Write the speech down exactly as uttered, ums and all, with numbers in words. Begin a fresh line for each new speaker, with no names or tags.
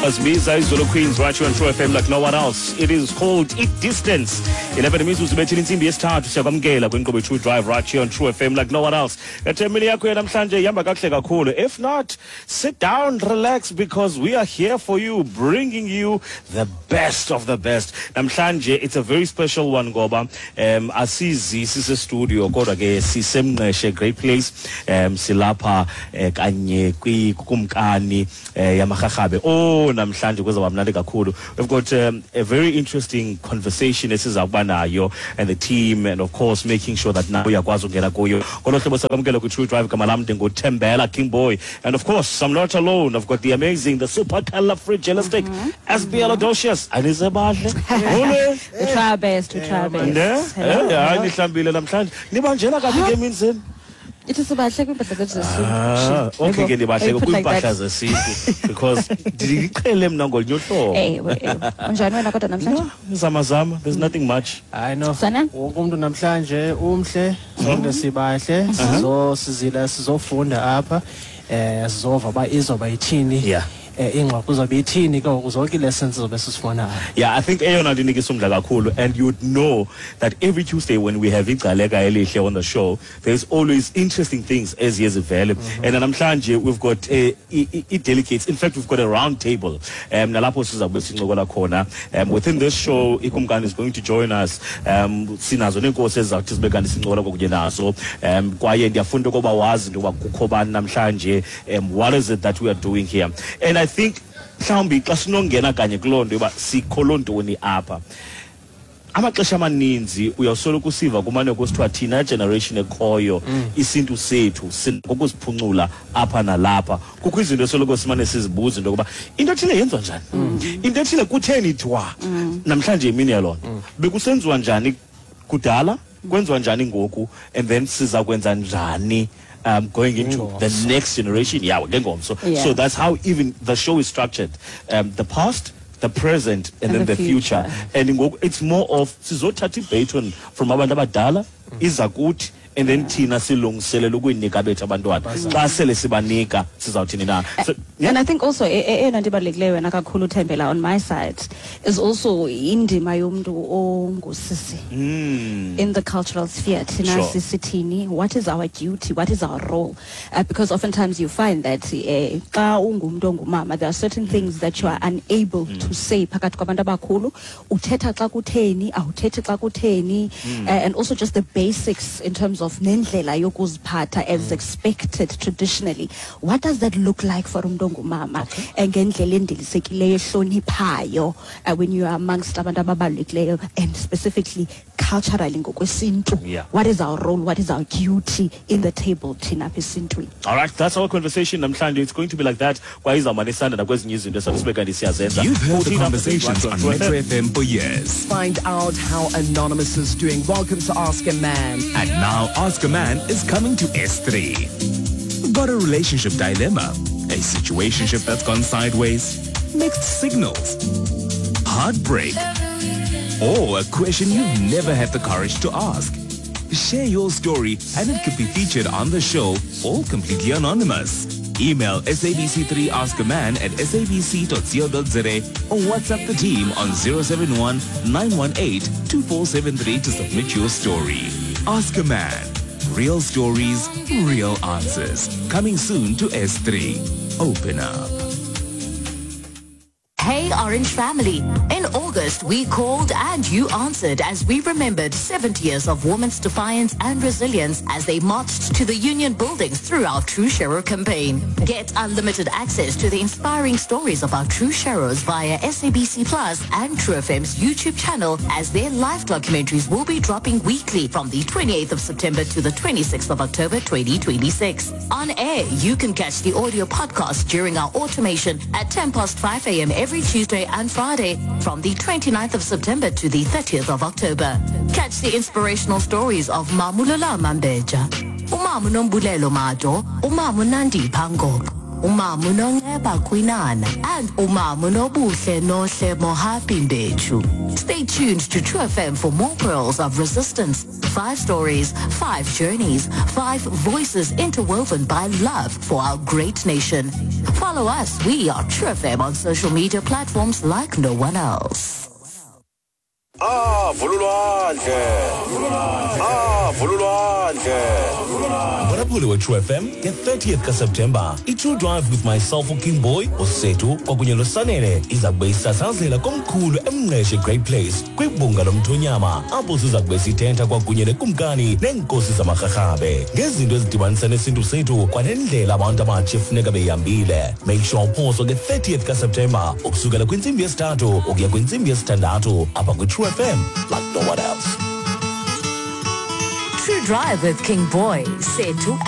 Azibiza iZulu Queens right here on True F M like no one else. It is called It Distance. eleven imizuzu ibethile intsimbi yesithathu. Siyakwamkela kwinkqubo True Drive right here on True F M like no one else. Ethemini yakho namhlanje ihamba kakuhle kakhulu. If not, sit down, relax, because we are here for you, bringing you the best of the best. Namhlanje it's a very special one ngoba um asizi sise studio, kodwa ke siseMngqeshe, great place. Um silapha eh, kanye kwikumkani eh, yamaRharhabe. Oh, namhlanje kuzawuba mnandi kakhulu. We've got um, a very interesting conversation esiza kuba nayo and the team, and of course making sure that nawe uyakwazi ukungena kuyo. Ngolo hlobo sakwamkela kwi-True Drive. Gama lam ndinguThembela King Boy, and of course I'm not alone. I've got the amazing, the supercalifragilistic S B L Odocious. Anisebahle. Molweni.
We try our best. We try our best.
Ne?
Hello.
Eh, hayi, nihlambile namhlanje. Nibanjena kabi ke emini zenu.
Ithi sibahle kwiimpahla zethu zesintu.
Ah, okay ke, nibahle kwiimpahla zesintu because ndiqhele mna ngolunye uhlobo.
Ewe, ewe. Unjani wena kodwa namhlanje?
Zama zama, there's nothing much.
Hayi no.
Sana?
Wonke umuntu namhlanje umhle, sonke sibahle, sizo sizila sizofunda apha. Eh sizova ba izoba ithini.
Yeah.
Eh ingxoxo izobe ithini ke ngoku, zonke lessons zobe sisifuna apha.
Yeah, I think eyona nto inikisa umdla kakhulu, and you'd know that every Tuesday when we have iGcaleka Elihle on the show, there's always interesting things eziye zivele. And namhlanje we've got uh, i-delegates. In fact, we've got a round table. Um, nalapho sizawube sincokola khona. Um, within this show, ikumkani is going to join us. Um, sinazo neenkosi ezizawuthi zibe kanti sincokola kunye nazo. Um, kwaye ndiyafunda ukuba wazi into yokuba kukho bani namhlanje. Um, what is it that we are doing here? And I think mhlawumbi xa sinongena kanye kuloo nto yoba sikho ntoni apha, amaxesha amaninzi uyawusoloko usiva kumane kusithiwa thina generation ekhoyo isintu sethu sinokuziphuncula apha nalapha. Kukho izinto esoloko simane sizibuza into yokuba into ethile yenziwa njani, into ethile kutheni ithiwa. Namhlanje imini yaloo nto, bekusenziwa njani kudala, kwenziwa njani ngoku, and then siza kwenza njani um, going into the next generation, yeah, ngengomso.
Yeah.
So that's how even the show is structured: um, the past, the present and,
and
then
the
the future,
future.
And ngoku it's more of sizothatha i-baton from abantu abadala iza kuthi, and then thina silungiselela ukuyinika bethu abantwana. Xa sele sibanika, sizawuthini na? So, yeah.
And I think also e- e- eyona nto ibalulekileyo wena kakhulu, Thembela, on my side is also indima yomntu ongusisi in the cultural sphere. Thina
Sure.
sisithini? What is our duty? What is our role? Uh, because oftentimes you find that eh, xa ungumntu ongumama, there are certain things that you are unable to say phakathi kwabantu abakhulu. Uthetha xa kutheni, awuthethi xa kutheni, uh, and also just the basics in terms of nendlela yokuziphatha as expected traditionally. What does that look like for umntu ongumama eh, ngendlela endilisekileyo, ehloniphayo, uh, when you are amongst abantu ababalulekileyo and specifically culturally ngokwesintu?
Yeah.
What is our role? What is our duty in the table thina apha esintwini?
All right, that's our conversation namhlanje. It's going to be like that, kwaye izawumane isanda nakwezinye izinto esathi sibe kanti siyazenza.
You've heard the
fourteen after six,
conversations
right
on
on
Metro
True F M.
F M for years.
Find out how Anonymous is doing. Welcome to Ask a Man.
And now Ask a Man is coming to S three. Got a relationship dilemma? A situationship that's gone sideways? Mixed signals? Heartbreak? Or a question you've never had the courage to ask? Share your story and it could be featured on the show, all completely anonymous. Email S A B C three Ask a Man at S A B C dot co dot Z A or WhatsApp the team on zero seven one nine one eight two four seven three to submit your story. Ask a Man. Real stories, real answers. Coming soon to S three. Open up.
Hey, Orange family. In August, we called and you answered as we remembered seventy years of women's defiance and resilience as they marched to the union buildings through our True Sharer campaign. Get unlimited access to the inspiring stories of our True Sharers via S A B C Plus and True F M's YouTube channel, as their live documentaries will be dropping weekly from the twenty-eighth of September to the twenty-sixth of October twenty twenty-six. On air, you can catch the audio podcast during our automation at ten past five a m every Tuesday and Friday from the 29th of September to the thirtieth of October. Catch the inspirational stories of Mamulala Mambeja, Umamu Nombulelo Mado, Umamu Nandi Pango, Umama uNonceba Kwinana, and Umama uNobuhle Nohle Mohapi Mbechu. Stay tuned to True F M for more pearls of resistance. Five stories, five journeys, five voices interwoven by love for our great nation. Follow us. We are True F M on social media platforms like no one else.
Ah, vululwandle. Ah, vululwandle.
Mphulaphuli we-True F M nge-thirtieth kaSeptemba, i-True Drive with myself uKing Boy, uSethu kwakunye noSanele iza kube isasazela komkhulu eMnqeshe Great Place kwibhunga lomthonyama, apho siza kube sithetha kwakunye nekumkani neenkosi zamarharhabe ngezinto ezidibanisa nesintu sethu kwanendlela abantu abatsha efuneka beyihambile. Make sure uphoswa nge-thirtieth kaSeptemba ukusukela kwintsimbi yesithathu ukuya kwintsimbi yesithandathu apha kwi-True F M like no one else.
True Drive with King Boy, Sethu